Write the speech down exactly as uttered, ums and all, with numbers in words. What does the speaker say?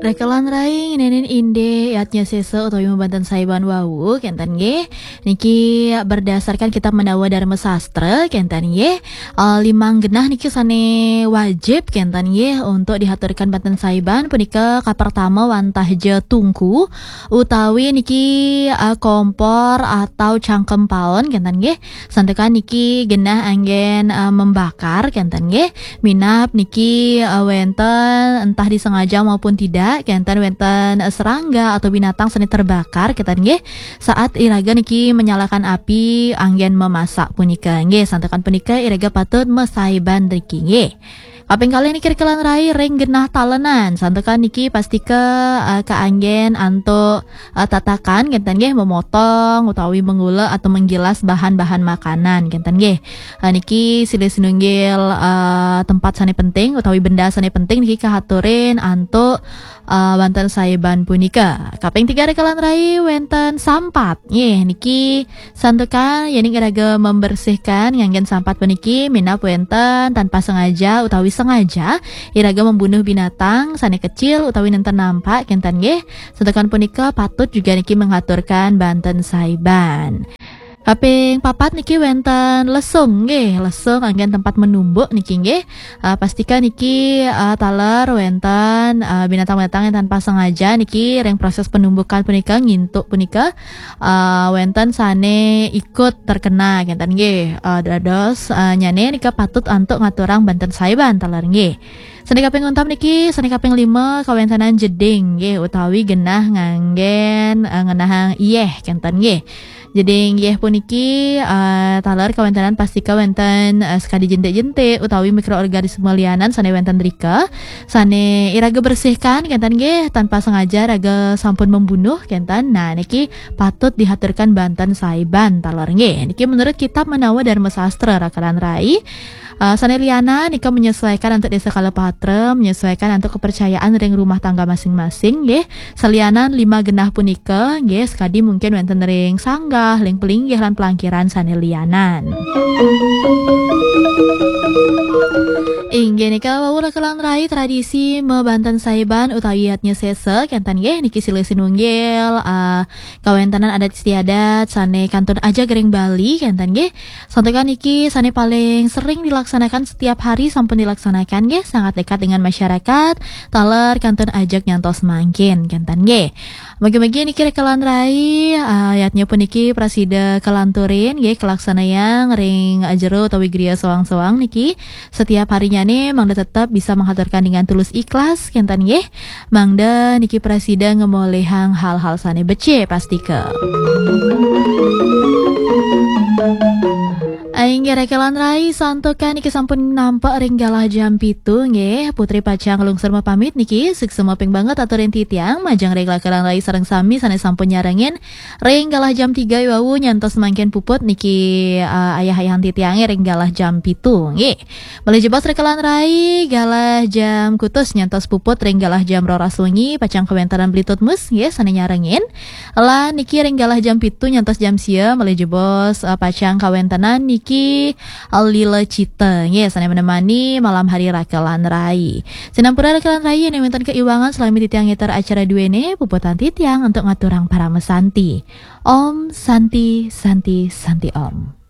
Rekelan rai ngenenin indik yadnya sesa utawi mabanten saiban wau, kenten nggih. Niki berdasarkan kitab Mandawa Dharma Sastra, kenten nggih. Eh, limang genah niki sane wajib, kenten nggih, untuk dihaturkan banten saiban. Punika kapertama wantah ja tungku, utawi niki, eh, kompor atau cangkem paon, kenten nggih. Santukan niki genah anggen, eh, membakar, kenten nggih. Minab niki, eh, wenten entah disengaja maupun tidak, kenten wenten, eh, serangga atau binatang sane terbakar, kenten nggih. Saat iraga niki menyalakan api anggen memasak punika. Nggih, santukan punika iraga patut mesaiban riki nggih. Kaping kalih niki rekelan rai ring genah talenan. Santukan niki pastika, eh, kaanggen antuk, eh, tatakan, kenten nggih, memotong utawi mengulek atau menggilas bahan-bahan makanan, kenten nggih. Eh, niki silih sinunggil, eh, tempat sane penting utawi benda sane penting niki kahaturin antuk, eh, banten saiban punika. Kaping tiga rekelan rai wenten sampat. Nggih, niki santukan yening iraga membersihkan nganggen sampat puniki, minab wenten tanpa sengaja utawi sengaja iraga membunuh binatang sane kecil utawi nenten nampak, kenten nggih. Santukan punika patut juga niki mengaturkan banten saiban. Kaping papat niki wenten lesung nggih, lesung anggen tempat menumbuk niki nggih. Eh, pastika niki, eh, taler wenten, eh, binatang-binatang yang tanpa sengaja niki ring proses penumbukan punika, ngintuk punika, eh, wenten sane ikut terkena, kenten nggih. Eh, dados, eh, nyane nika patut antuk ngaturang banten saiban taler nggih. Sane kaping untam niki, sane kaping lima kawentenan jeding nggih, utawi genah nganggen, eh, ngenahang iyeh, kenten nggih. Jeding iyeh puniki, eh, taler kawentenan pastika wenten, eh, sekadi jentik-jentik utawi mikroorganisme lianan sane wenten rika, sane iraga bersihkan, kenten nggih, tanpa sengaja raga sampun membunuh, kenten. Nah, niki patut dihaturkan banten saiban taler nggih. Niki menurut kitab Mandawa Dharma Sastra, rekelan rai. Eh, sane lianan nika menyesuaikan antuk desa kala patra, menyesuaikan antuk kepercayaan ring rumah tangga masing-masing nggih. Salianan lima genah punika nggih, sekadi mungkin wenten ring sanggah, ring pelinggih lan pelangkiran sane lianan. Inggih nika wau rekelan rai tradisi mabanten saiban utawi yadnya sesa, kenten nggih, niki silih sinunggil, eh, kawentenan adat istiadat sane kantun ajeg ring Bali, kenten nggih. Santukan niki sane paling sering dilaksanakan setiap hari sampun dilaksanakan nggih, sangat dekat dengan masyarakat, taler kantun ajeg nyantos mangkin, kenten nggih. Mugi-mugi niki rekelan rai, eh, yadnya puniki prasida kalanturin nggih, kalaksanayang ring jero utawi griya soang-soang niki. Setiap harinyane mangda tetep bisa menghaturkan dengan tulus ikhlas, kenten nggih. Mangda niki prasida ngemolihang hal-hal sane becik pastika. Inggih rekelan rai, santukan niki sampun nampak ring galah jam pitu nggih. Putri pacang lungsur mapamit niki, suksma ping banget aturin titiang majeng ring rekelan rai sareng sami sane sampun nyarengin ring galah jam tiga wau nyantos mangkin puput niki, eh, ayah-ayahan titiange ring galah jam pitu nggih. Malih jebos rekelan rai, galah jam kutus nyantos puput ring galah jam roras wengi, pacang kawentenan Bli Tutmus nggih sane nyarengin. Lan niki ring galah jam pitu nyantos jam sia, malih jebos, eh, pacang kawentenan niki, eh, Lila Cita nggih sane menemani malam hari rekelan rai. Sinampura rekelan rai yen wenten keiwangan salami titiang ngeter acara duene, puputang titiang untuk ngaturang parama santi. Om Santi, Santi, Santi Om.